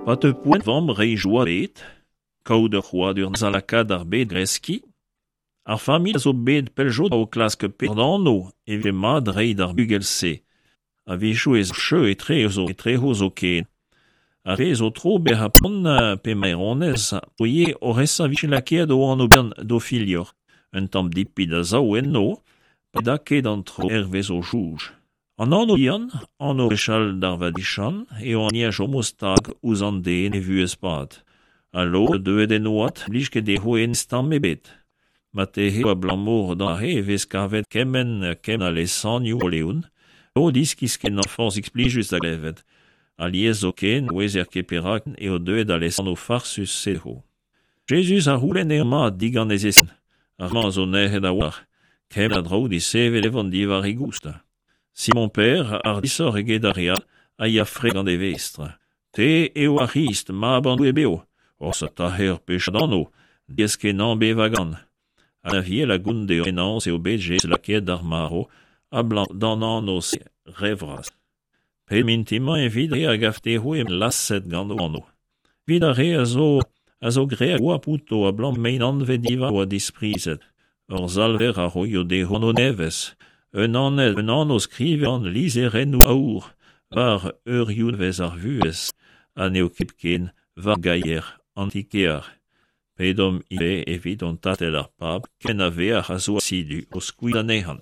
Pa teu poent vamm reiñ joa bet, kaout ur c'hrouadur da lakaat ar bed kreskiñ, ar familh a zo bet pell zo o klask peseurt anv e vije mat reiñ d'ar bugel-se. A-wechoù ez cheu etrezo etrezo zoken. Ar re zo tro bezañ pont pe maeronez o ivez oc'h esa 'vije lakaet o anv-bihan d'o filhor. Un tamm dipit a sav enno pa da ket an traoù hervez o soñj. An anv-bihan, anv gwechall d'ar vadiziant, eo an hini a chomo stag ouzh an den e vuhez-pad. Ha lod deuet en oad ne blij ket dezho hennezh tamm ebet. Marteze eo abalamour d'an e vez kavet kement kement a lesanvioù Bro-Leon, lod iskis-kenañ forzhik plijus da glevet. Alies zoken ne ouezer ket perak eo deuet al lesanv farsus-se dezho. Jezuz a c'houlenn eo mat digant e zeskiñ. Ar re-mañ a zo nec'het a-walc'h. Kement a draoù desevet e vont diwar e goust. Simon-Pêr, hardishoc'h eget ar re all, a ya fre gant e vestr. Te eo ar C'hrist, mab an Doue bev. Oc'h taher ur pechad anv, diaes-kenañ bevañ gant. An Aviel a gont deomp penaos eo bet Jezuz lakaet d'ar marv abalamour d'an anv-se re vras. Pet mintin-mañ evit re a gav dezho eo laset gant o anv. Evit ar re a zo a zo graet goap outo abalamour m'int anvet diwar oa disprizet. Hor Salver a roio dezho anv nevez, un anv un anv skrivet gant lizherennoù aour war eurioù nevez ar vuhez ha n'eo ket hepken war gaier an ti-kear. Pedomp ivez evit hon Tad ar Pab ken a veac'h a zo asidu o skuizhañ anezhañ.